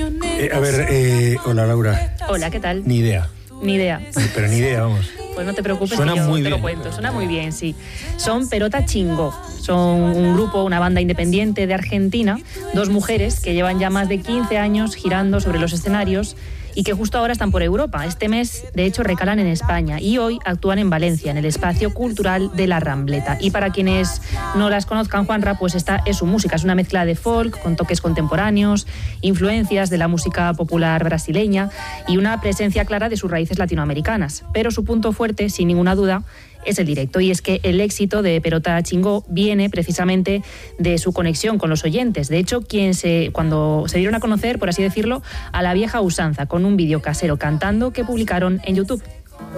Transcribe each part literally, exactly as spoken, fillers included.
Eh, a ver, eh, hola Laura. Hola, ¿qué tal? Ni idea. Ni idea. Pero ni idea, vamos. Pues no te preocupes, Suena que yo muy te bien. lo cuento. Suena muy bien, sí. Son Perota Chingó. Son un grupo, una banda independiente de Argentina, dos mujeres que llevan ya más de quince años girando sobre los escenarios y que justo ahora están por Europa. Este mes, de hecho, recalan en España y hoy actúan en Valencia, en el Espacio Cultural de la Rambleta. Y para quienes no las conozcan, Juanra, pues esta es su música. Es una mezcla de folk con toques contemporáneos, influencias de la música popular brasileña y una presencia clara de sus raíces latinoamericanas. Pero su punto fuerte, sin ninguna duda, es el directo, y es que el éxito de Perota Chingó viene precisamente de su conexión con los oyentes. De hecho, quien se, cuando se dieron a conocer, por así decirlo, a la vieja usanza, con un vídeo casero cantando que publicaron en YouTube.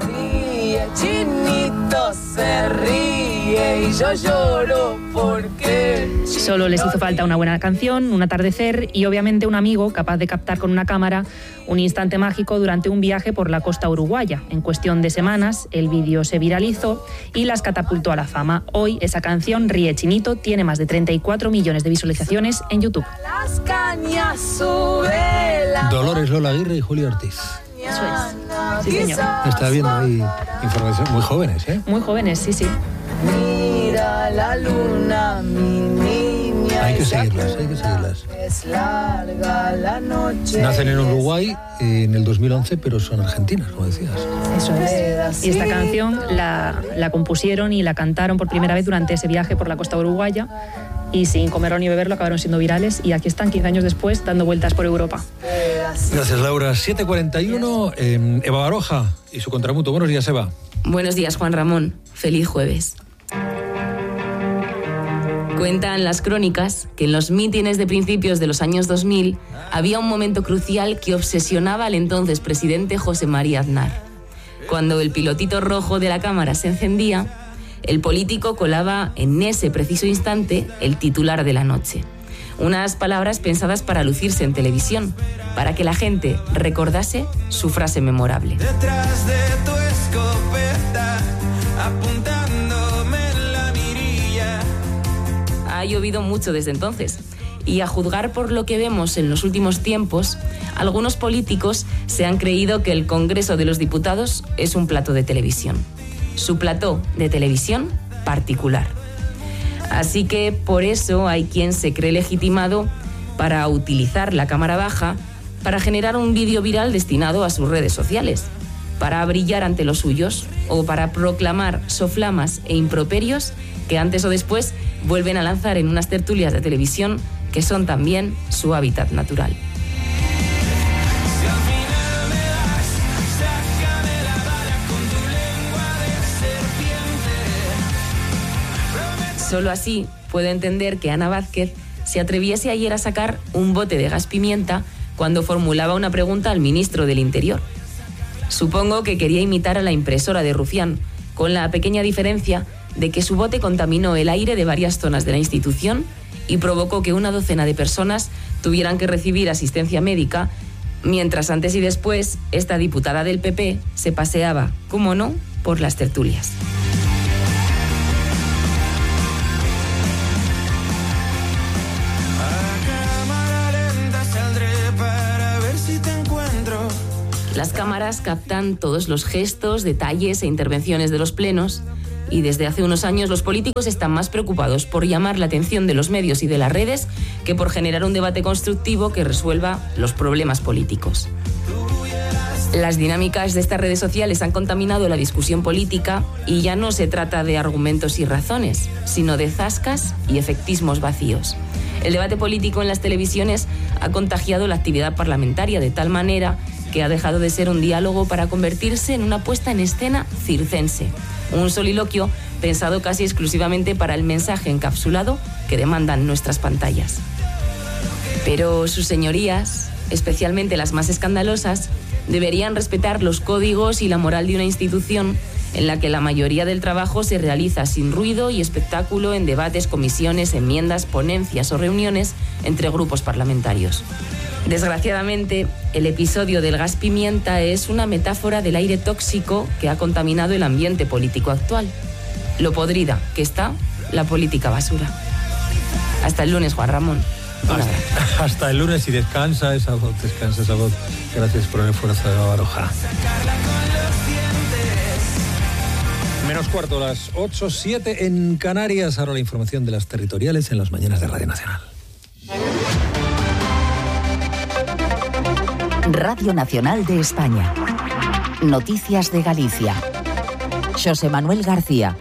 Ríe, chinito se ríe y yo lloro porque... Solo les hizo falta una buena canción, un atardecer y obviamente un amigo capaz de captar con una cámara un instante mágico durante un viaje por la costa uruguaya. En cuestión de semanas, el vídeo se viralizó y las catapultó a la fama. Hoy esa canción, Ríe Chinito, tiene más de treinta y cuatro millones de visualizaciones en YouTube. Las cañas sube la... Dolores Lola Aguirre y Julio Ortiz. Eso es. Sí, señor. Está viendo ahí información. Muy jóvenes, ¿eh? Muy jóvenes, sí, sí. Mira la luna, mi niña. Hay que seguirlas, hay que seguirlas. Es larga la noche. Nacen en Uruguay eh, en el dos mil once, pero son argentinas, como decías. Eso es. Y esta canción la, la compusieron y la cantaron por primera vez durante ese viaje por la costa uruguaya y sin comerlo ni beberlo acabaron siendo virales y aquí están quince años después dando vueltas por Europa. Gracias, Laura. siete cuarenta y uno, eh, Eva Baroja y su contramuto. Buenos días, Eva. Buenos días, Juan Ramón. Feliz jueves. Cuentan las crónicas que en los mítines de principios de los años dos mil había un momento crucial que obsesionaba al entonces presidente José María Aznar. Cuando el pilotito rojo de la cámara se encendía, el político colaba en ese preciso instante el titular de la noche. Unas palabras pensadas para lucirse en televisión, para que la gente recordase su frase memorable. Detrás de tu escopeta, apuntándome en la mirilla. Ha llovido mucho desde entonces. Y a juzgar por lo que vemos en los últimos tiempos, algunos políticos se han creído que el Congreso de los Diputados es un plató de televisión. Su plató de televisión particular. Así que por eso hay quien se cree legitimado para utilizar la cámara baja para generar un vídeo viral destinado a sus redes sociales, para brillar ante los suyos o para proclamar soflamas e improperios que antes o después vuelven a lanzar en unas tertulias de televisión que son también su hábitat natural. Solo así puedo entender que Ana Vázquez se atreviese ayer a sacar un bote de gas pimienta cuando formulaba una pregunta al ministro del Interior. Supongo que quería imitar a la impresora de Rufián, con la pequeña diferencia de que su bote contaminó el aire de varias zonas de la institución y provocó que una docena de personas tuvieran que recibir asistencia médica, mientras antes y después esta diputada del P P se paseaba, cómo no, por las tertulias. Las cámaras captan todos los gestos, detalles e intervenciones de los plenos y desde hace unos años los políticos están más preocupados por llamar la atención de los medios y de las redes que por generar un debate constructivo que resuelva los problemas políticos. Las dinámicas de estas redes sociales han contaminado la discusión política y ya no se trata de argumentos y razones, sino de zascas y efectismos vacíos. El debate político en las televisiones ha contagiado la actividad parlamentaria de tal manera que ha dejado de ser un diálogo para convertirse en una puesta en escena circense, un soliloquio pensado casi exclusivamente para el mensaje encapsulado que demandan nuestras pantallas. Pero sus señorías, especialmente las más escandalosas, deberían respetar los códigos y la moral de una institución en la que la mayoría del trabajo se realiza sin ruido y espectáculo en debates, comisiones, enmiendas, ponencias o reuniones entre grupos parlamentarios. Desgraciadamente, el episodio del gas pimienta es una metáfora del aire tóxico que ha contaminado el ambiente político actual. Lo podrida que está la política basura. Hasta el lunes, Juan Ramón. Hasta, hasta el lunes y descansa esa voz, descansa esa voz. Gracias por el esfuerzo de Baroja. Menos cuarto, las ocho siete en Canarias. Ahora la información de las territoriales en las mañanas de Radio Nacional. Radio Nacional de España. Noticias de Galicia. Xosé Manuel García.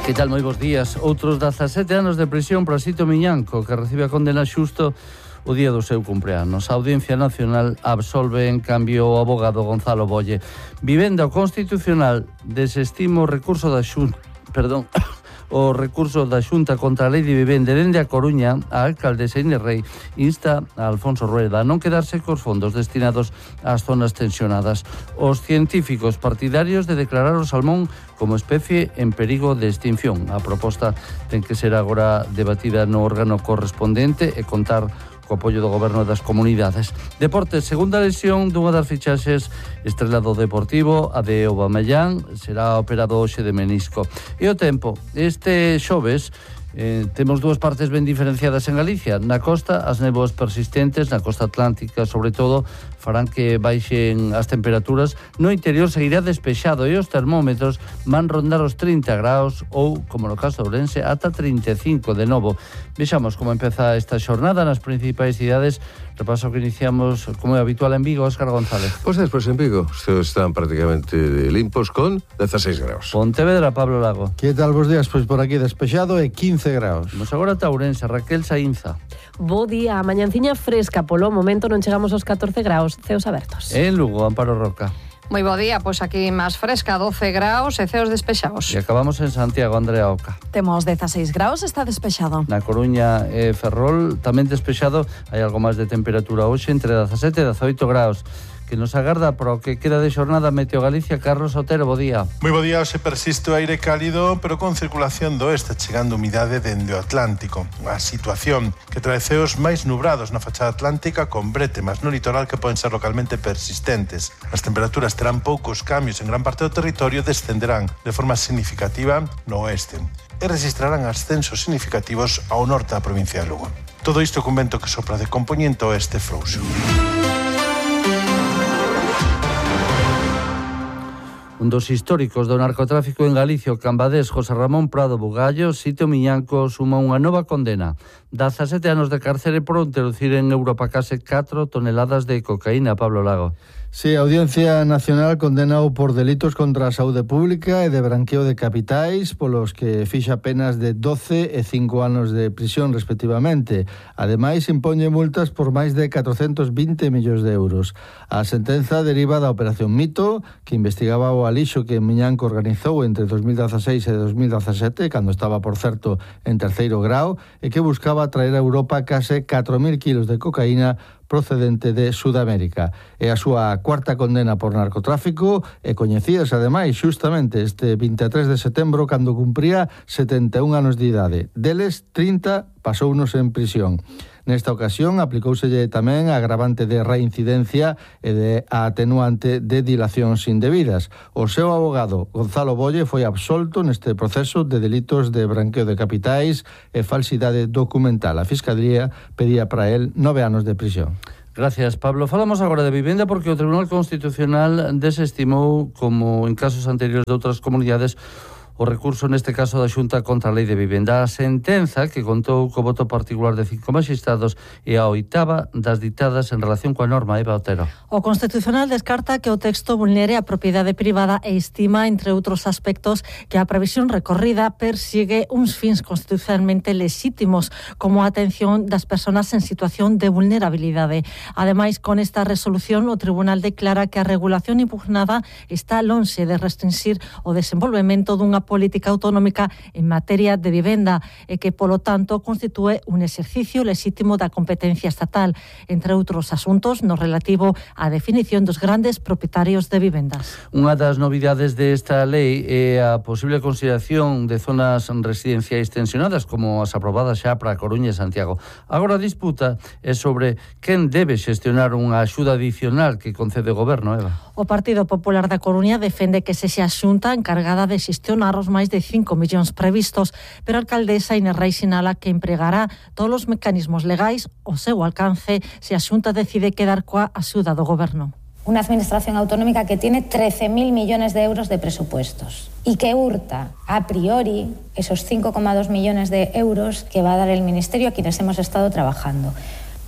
Que tal, moi bons días. Outros dezasete anos de prisión para Sito Miñanco, que recibe a condena xusto o día do seu cumpleanos. A Audiencia Nacional absolve en cambio o abogado Gonzalo Bolle. Vivenda o Constitucional desestima o recurso da Xunta, perdón, o recurso da Xunta contra a Lei de Vivenda. Dende a Coruña, a alcaldesa Inés Rei insta a Alfonso Rueda a non quedarse cos fondos destinados ás zonas tensionadas. Os científicos partidarios de declarar o salmón como especie en perigo de extinción. A proposta ten que ser agora debatida no órgano correspondente e contar co apoio do goberno das comunidades. Deportes, segunda lesión dunha das fichaxes estrela do Deportivo, a de Aubameyang, será operado hoxe de menisco. E o tempo, este xoves Eh, temos dúas partes ben diferenciadas en Galicia. Na costa, as néboas persistentes, na costa atlántica, sobre todo, farán que baixen as temperaturas. No interior seguirá despexado e os termómetros van rondar os trinta graus ou, como no caso de Ourense, ata trinta e cinco de novo. Vexamos como empeza esta xornada nas principais cidades. Repaso que iniciamos, como é habitual, en Vigo, Óscar González. Pois pues despois en Vigo, os ceos están prácticamente limpos con dezaseis graus. Pontevedra, Pablo Lago. Que tal vos días? Pois por aquí despexado e quince graus. Vamos agora a Ourense, Raquel Saínza. Bo día, a mañanciña fresca, polo momento non chegamos aos catorce graus, ceos abertos. En Lugo, Amparo Roca. Moi bo día, pois aquí máis fresca, doce graus e ceos despexados. E acabamos en Santiago, Andrea Oca. Temos dezaseis graus, está despexado. Na Coruña e Ferrol, tamén despexado, hai algo máis de temperatura hoxe, entre dezasete e dezaoito graus. Que nos agarda para o que queda de xornada Meteo Galicia. Carlos Otero, bo día. Moi bo día, hoxe persiste o aire cálido, pero con circulación do oeste, chegando humidade dende o Atlántico. A situación que trae ceos máis nubrados na fachada atlántica, con brétemas no litoral que poden ser localmente persistentes. As temperaturas terán poucos cambios en gran parte do territorio, descenderán de forma significativa no oeste e registrarán ascensos significativos ao norte da provincia de Lugo. Todo isto con vento que sopra de compoñente oeste frouxo. Un dos históricos do narcotráfico en Galicia, o cambadés José Ramón Prado Bugallo, Sito Miñanco, suma unha nova condena. dezasete anos de cárcere por introducir en Europa case catro toneladas de cocaína. Pablo Lago. Sí, a Audiencia Nacional condenao por delitos contra a saúde pública e de branqueo de capitais, polos que fixa penas de doce e cinco anos de prisión, respectivamente. Ademais, impoñe multas por máis de catrocentos vinte millóns de euros. A sentenza deriva da Operación Mito, que investigaba o alixo que Miñanco organizou entre dos mil dezaseis e dos mil dezasete, cando estaba, por certo, en terceiro grau, e que buscaba traer a Europa case catro mil kilos de cocaína procedente de Sudamérica. É a súa cuarta condena por narcotráfico e coñecías, ademais, xustamente este vinte e tres de setembro, cando cumpría setenta e un anos de idade. Deles, trinta pasounos en prisión. Nesta ocasión aplicóuselle tamén a agravante de reincidencia e de a atenuante de dilacións indebidas. O seu abogado, Gonzalo Bolle, foi absolto neste proceso de delitos de branqueo de capitais e falsidade documental. A Fiscalía pedía para él nove anos de prisión. Gracias, Pablo. Falamos agora de vivenda porque o Tribunal Constitucional desestimou, como en casos anteriores de outras comunidades, o recurso neste caso da Xunta contra a Lei de Vivenda. A sentenza, que contou co voto particular de cinco magistrados, e a oitava das ditadas en relación coa norma. Eva Otero. O Constitucional descarta que o texto vulnere a propiedade privada e estima, entre outros aspectos, que a previsión recorrida persigue uns fins constitucionalmente lexítimos, como a atención das persoas en situación de vulnerabilidade. Ademais, con esta resolución, o Tribunal declara que a regulación impugnada está lonxe de restringir o desenvolvemento dunha política autonómica en materia de vivenda e que, polo tanto, constitúe un exercicio lexítimo da competencia estatal, entre outros asuntos no relativo á definición dos grandes propietarios de vivendas. Unha das novidades desta lei é a posible consideración de zonas residenciais tensionadas, como as aprobadas xa para Coruña e Santiago. Agora a disputa é sobre quen debe xestionar unha axuda adicional que concede o goberno, Eva. O Partido Popular da Coruña defende que sexa a Xunta encargada de xestionar estimar os máis de cinco millóns previstos, pero a alcaldesa Inés Rei sinala que empregará todos os mecanismos legais ao seu alcance se a Xunta decide quedar coa axuda do Goberno. Una administración autonómica que tiene trece mil millones de euros de presupuestos y que hurta a priori esos cinco coma dos millones de euros que va a dar el Ministerio a quienes hemos estado trabajando.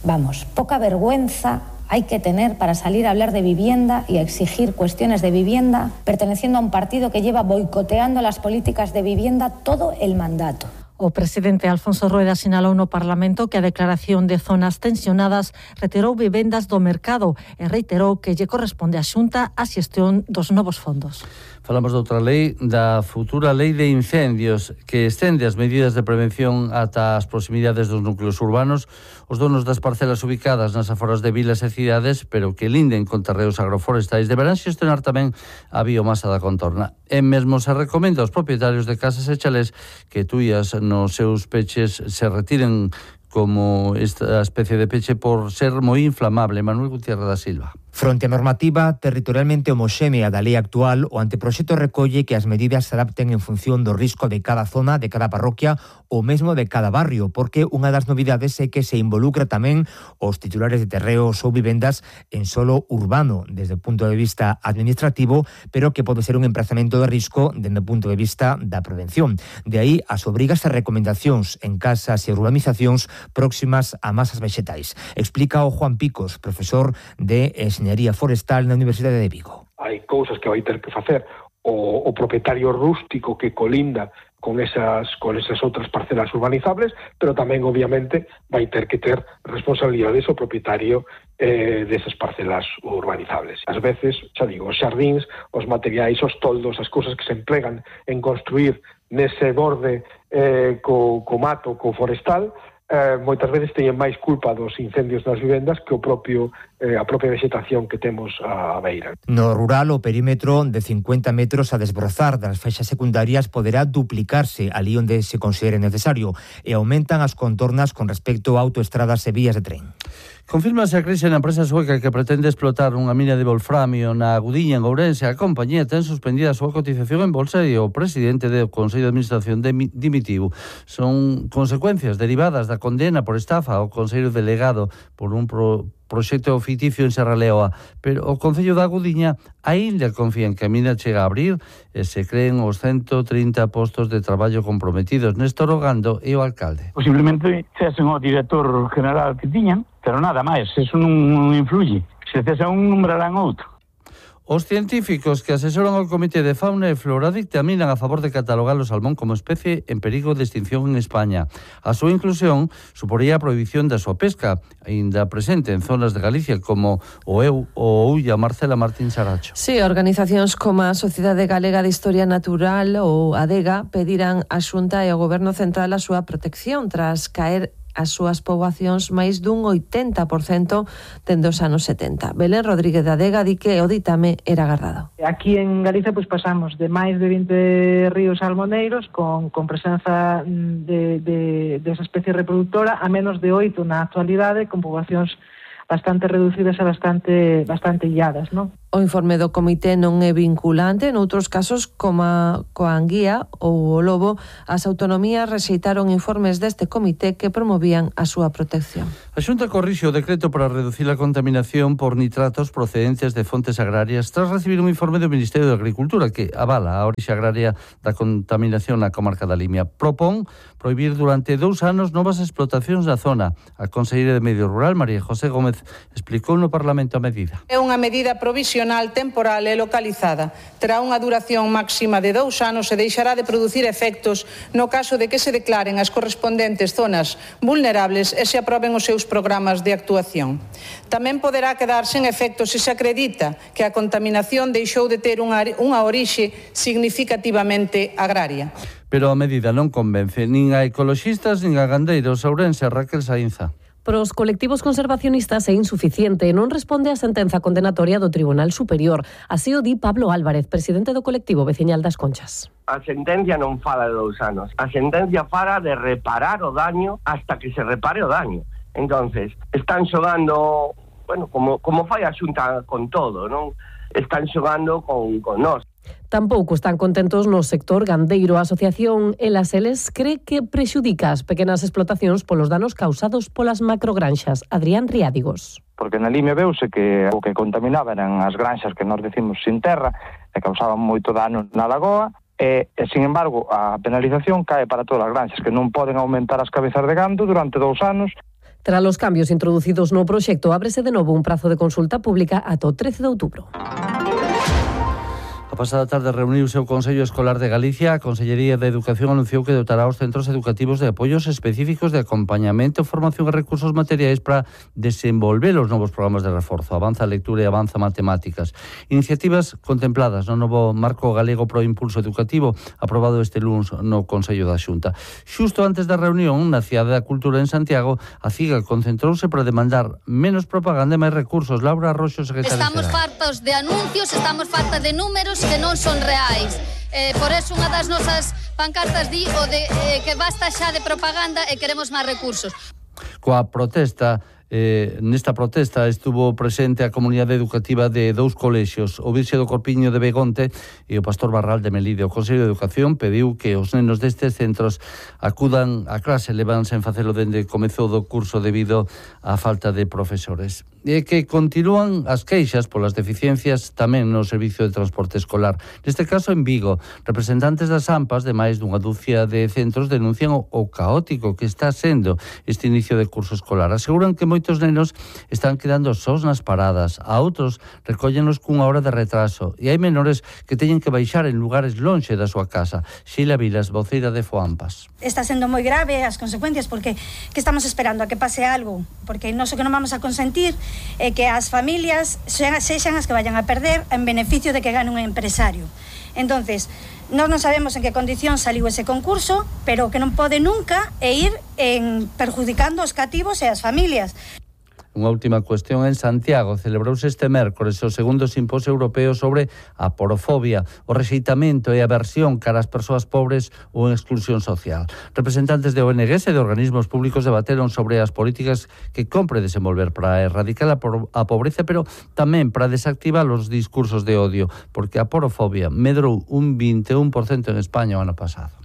Vamos, poca vergüenza hay que tener para salir a hablar de vivienda y a exigir cuestiones de vivienda perteneciendo a un partido que lleva boicoteando las políticas de vivienda todo el mandato. O presidente Alfonso Rueda sinalou no Parlamento que a declaración de zonas tensionadas retirou vivendas do mercado e reiterou que lle corresponde á Xunta a xestión dos novos fondos. Falamos de outra lei, da futura lei de incendios, que estende as medidas de prevención ata as proximidades dos núcleos urbanos, os donos das parcelas ubicadas nas aforas de vilas e cidades, pero que linden con terreos agroforestais, deberán xestionar tamén a biomasa da contorna. E mesmo se recomenda aos propietarios de casas e chalés que tuías nos seus peches se retiren como esta especie de peche por ser moi inflamable. Manuel Gutiérrez da Silva. Fronte á normativa territorialmente homoxénea da lei actual, o anteproxecto recolle que as medidas se adapten en función do risco de cada zona, de cada parroquia ou mesmo de cada barrio, porque unha das novidades é que se involucra tamén os titulares de terreos ou vivendas en solo urbano, desde o punto de vista administrativo, pero que pode ser un emprazamento de risco desde o punto de vista da prevención. De aí as obrigas e recomendacións en casas e urbanizacións próximas a masas vexetais. Explica o Juan Picos, profesor de Enxeñería Forestal na Universidade de Vigo. Hai cousas que vai ter que facer o, o propietario rústico que colinda con esas, con esas outras parcelas urbanizables, pero tamén, obviamente, vai ter que ter responsabilidades o propietario eh, desas parcelas urbanizables. Ás veces, xa digo, os xardíns, os materiais, os toldos, as cousas que se emplegan en construir nese borde eh, co, co mato, co forestal, Eh, moitas veces teñen máis culpa dos incendios nas vivendas que o propio eh, a propia vegetación que temos á beira. No rural, o perímetro de cincuenta metros a desbrozar das feixas secundarias poderá duplicarse ali onde se considere necesario e aumentan as contornas con respecto a autoestradas e vías de tren. Confírmase a crise na empresa sueca que pretende explotar unha mina de wolframio na Gudiña, en Ourense. A compañía ten suspendida a súa cotización en bolsa e o presidente do Consello de Administración dimitiu. Son consecuencias derivadas da condena por estafa ao consello delegado por un pro proxecto ficticio en Serra Leoa, pero o Concello da Gudiña aínda confía en que a mina chega a abrir e se creen os ciento trinta postos de traballo comprometidos. Néstor Ogando e o alcalde. Posiblemente cesen o director general que tiñan, pero nada máis, eso non influye. Se cesen un, nombrarán outro. Os científicos que asesoran ao Comité de Fauna e Flora dictaminan a favor de catalogar o salmón como especie en perigo de extinción en España. A súa inclusión suporía a prohibición da súa pesca, aínda presente en zonas de Galicia como o Eu ou Ulla. Marcela Martín Saracho. Sí, organizacións como a Sociedade Galega de Historia Natural ou ADEGA pedirán á Xunta e ao Goberno Central a súa protección tras caer as súas poboacións máis dun oitenta por cento dende os anos setenta. Belén Rodríguez da Adega di que o ditame era agardado. Aquí en Galicia pues pasamos de máis de vinte ríos salmoneiros con, con presenza de, de, de esa especie reproductora a menos de oito na actualidade con poboacións bastante reducidas e bastante bastante illadas, non? O informe do comité non é vinculante. Noutros casos, como a coa anguía ou o lobo, as autonomías rexeitaron informes deste comité que promovían a súa protección. A Xunta corrixe o decreto para reducir a contaminación por nitratos procedentes de fontes agrarias tras recibir un informe do Ministerio de Agricultura que avala a orixe agraria da contaminación na comarca da Limia. Propón prohibir durante dous anos novas explotacións na zona. A conselleira de Medio Rural, María José Gómez, explicou no Parlamento a medida. É unha medida provisional temporal e localizada. Terá unha duración máxima de dous anos e deixará de producir efectos no caso de que se declaren as correspondentes zonas vulnerables e se aproben os seus programas de actuación. Tamén poderá quedar sen efectos se se acredita que a contaminación deixou de ter unha, unha orixe significativamente agraria. Pero a medida non convence nin a ecoloxistas nin a gandeiros. Ourense, Raquel Saínza. Para os colectivos conservacionistas é insuficiente e non responde á sentenza condenatoria do Tribunal Superior. Así o di Pablo Álvarez, presidente do colectivo veciñal das Conchas. A sentencia non fala de dous anos. A sentencia fala de reparar o daño hasta que se repare o daño. Entonces, están xogando, bueno, como, como fai a Xunta con todo, non? Están xogando con, con nós. Tampouco están contentos no sector gandeiro. A Asociación Elaseles cree que prexudica as pequenas explotacións polos danos causados polas macrogranxas. Adrián Riádigos. Porque na Limia veuse que o que contaminaba eran as granxas que nós decimos sin terra e causaban moito dano na lagoa e, e sin embargo, a penalización cae para todas as granxas que non poden aumentar as cabezas de gando durante dous anos. Tras os cambios introducidos no proxecto, ábrese de novo un prazo de consulta pública ata o trece de outubro. A pasada tarde reuniuse o Consello Escolar de Galicia. A Consellería de Educación anunciou que dotará os centros educativos de apoios específicos de acompañamento, formación e recursos materiais para desenvolver os novos programas de reforzo. Avanza lectura e avanza matemáticas. Iniciativas contempladas no novo Marco Galego pro Impulso Educativo, aprobado este luns no Consello da Xunta. Xusto antes da reunión na Cidade da Cultura en Santiago, a CIGA concentrouse para demandar menos propaganda e máis recursos. Laura Roxo, secretaria Estamos xeral. fartos de anuncios, estamos fartos de números que non son reais. Eh, por eso unha das nosas pancartas di o de eh, que basta xa de propaganda e queremos máis recursos. Coa protesta, eh, nesta protesta estuvo presente a comunidade educativa de dous colexios, o Virxe do Corpiño de Begonte e o Pastor Barral de Melide. O Consello de Educación pediu que os nenos destes centros acudan a clase, levan sen facelo dende comezou do curso debido á falta de profesores. E que continúan as queixas polas deficiencias tamén no servicio de transporte escolar. Neste caso, en Vigo, representantes das AMPAs de máis dunha dúcia de centros denuncian o, o caótico que está sendo este inicio de curso escolar. Aseguran que moitos nenos están quedando sós nas paradas, a outros recóllenlos cunha hora de retraso e hai menores que teñen que baixar en lugares lonxe da súa casa. Sheila Vilas, voceira de FOAMPAS. Está sendo moi grave as consecuencias porque que estamos esperando a que pase algo, porque non o que non vamos a consentir é que as familias sexan as que vayan a perder en beneficio de que gane un empresario. Entonces, nós non sabemos en que condición saliu ese concurso, pero que non pode nunca e ir en perjudicando os cativos e as familias. Unha última cuestión. En Santiago celebrouse este mércores o segundo simposio europeo sobre a porofobia, o rexeitamento e a aversión cara ás persoas pobres ou en exclusión social. Representantes de O N Gs e de organismos públicos debateron sobre as políticas que compre desenvolver para erradicar a, a pobreza, pero tamén para desactivar os discursos de odio, porque a porofobia medrou un vinte e un por cento en España o ano pasado.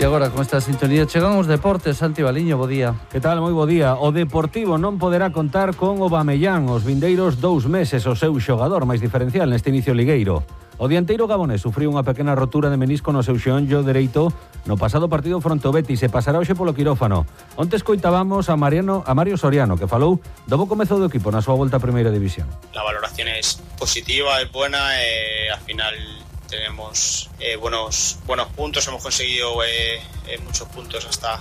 E agora, con esta sintonía, chegan os deportes. Santi Baliño, bo día. Que tal? Moi bo día. O Deportivo non poderá contar con Aubameyang os vindeiros dous meses, o seu xogador máis diferencial neste inicio ligueiro. O dianteiro gabonés sufriu unha pequena rotura de menisco no seu xeonllo dereito no pasado partido fronte ao Betis e pasará hoxe polo quirófano. Onte escoitábamos a Mariano a Mario Soriano, que falou do bo comezo do equipo na súa volta a Primeira División. La valoración es positiva, es buena, eh, al final tenemos eh, buenos buenos puntos, hemos conseguido eh, eh, muchos puntos hasta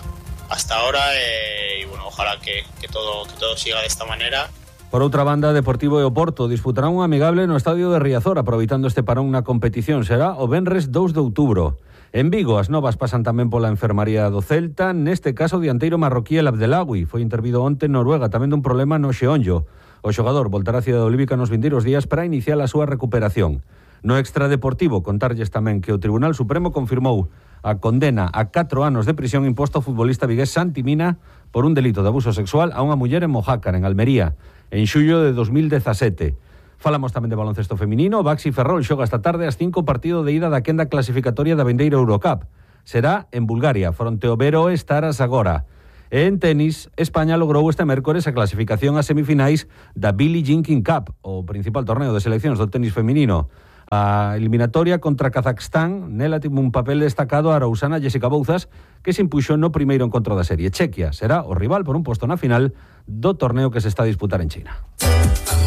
hasta ahora eh, y bueno, ojalá que, que todo que todo siga de esta manera. Por outra banda, Deportivo e Oporto disputarán un amigable no estadio de Riazor, aproveitando este parón na competición. Será o venres dous de outubro. En Vigo, as novas pasan tamén pola enfermaría do Celta. Neste caso, o dianteiro marroquí El Abdelawi foi intervido onte en Noruega, tamén dun problema no xeonllo. O xogador voltará a Cidade Olívica nos vindeiros días para iniciar a súa recuperación. No extradeportivo, contarlles tamén que o Tribunal Supremo confirmou a condena a catro anos de prisión imposta ao futbolista vigués Santi Mina por un delito de abuso sexual a unha muller en Mojácar, en Almería, en xullo de dos mil dezasete. Falamos tamén de baloncesto feminino. O Baxi Ferrol xoga esta tarde ás cinco partido de ida da quenda clasificatoria da vindeira Eurocup. Será en Bulgaria, fronte ao Vero Estaras agora. E en tenis, España logrou este mércores a clasificación a semifinais da Billie Jean King Cup, o principal torneo de seleccións do tenis feminino. A eliminatoria contra Kazajstán, nela tivo un papel destacado a arausana Jessica Bouzas, que se impuxo no primeiro encontro da serie. Chequia será o rival por un posto na final do torneo que se está a disputar en China.